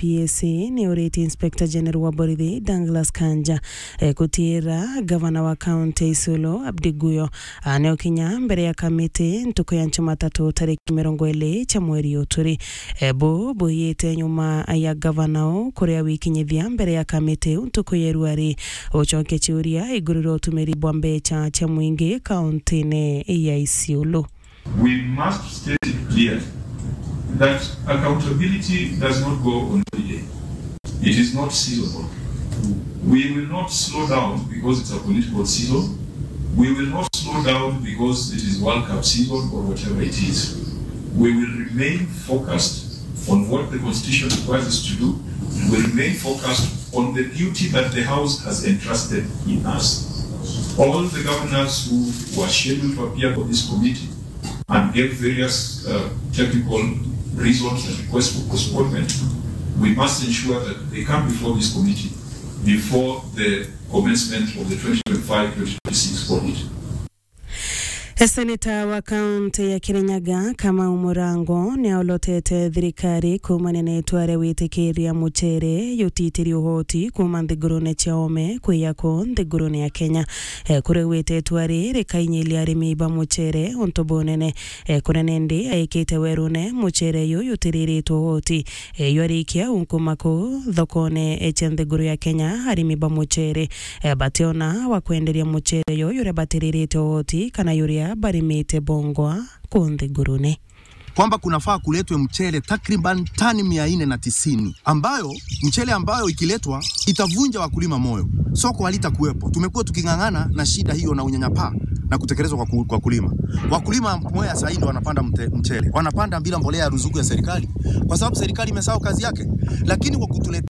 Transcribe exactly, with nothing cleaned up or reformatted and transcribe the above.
P S A ni uritie Inspector General wa borithi Douglas Kanja, eh, gutiira gavana wa kaunti ya Isiolo Abdi Guyo, ah, ni ukinya mbere ya kamiti ntuku ya Jumatatu tariki mirongo iri cia mweri uyu turi. Eh, bu buyite nyuma ya gavana u kuria wikinyithia mbere ya kamiti u ntuku ya iruari. Ucoke ciuria iguru ria utumiri bwa mbecha cia mwingi kauntine ya Isiolo. We must state it clearly that accountability does not go on holiday. It is not seasonal. We will not slow down because it's a political season. We will not slow down because it is World Cup season or whatever it is. We will remain focused on what the Constitution requires us to do. We will remain focused on the duty that the House has entrusted in us. All the governors who were scheduled to appear for this committee and gave various, uh, technical reasons and requests for postponement, we must ensure that they come before this committee before the commencement of the twenty twenty-five twenty twenty-six audit. Seneta wa kaunti ya Kirinyaga, Kamau Murango, ni aolotete thirikari kuumania na itua ria gwitikiria mucere jutitiri uhoti kuuma nthigurune cia oome kwija ku nthigurune ya Kenya. Eh, kuria augite itua riri rikainyiria arimi ba mucere untu bunene. Eh, kuria nindi aikite werune mucere uyu jutiriritwe uhoti. Eh, jwarikia unkuma kuu thokone, eh, cia nthiguru ya Kenya, arimi ba mucere, eh, bationa wa kwenderia mucere uyu juria batiririte uhoti kana juria barimite bongwa kuu nthigurune. Kwamba kunafaa kuletwe mchele takriban tani mia nne na tisini, ambayo, mchele ambayo ikiletwa itavunja wakulima moyo. Soko halitakuwepo. Tumekuwa tuking'ang'ana na shida hiyo na unyanyapaa na kutekelezwa kwa ku-, kwa kulima. Wakulima Mwea saa hii ndio wanapanda mte-, mchele. Wanapanda bila mbolea ya ruzuku ya serikali, kwa sababu serikali imesahau kazi yake. Lakini wakulima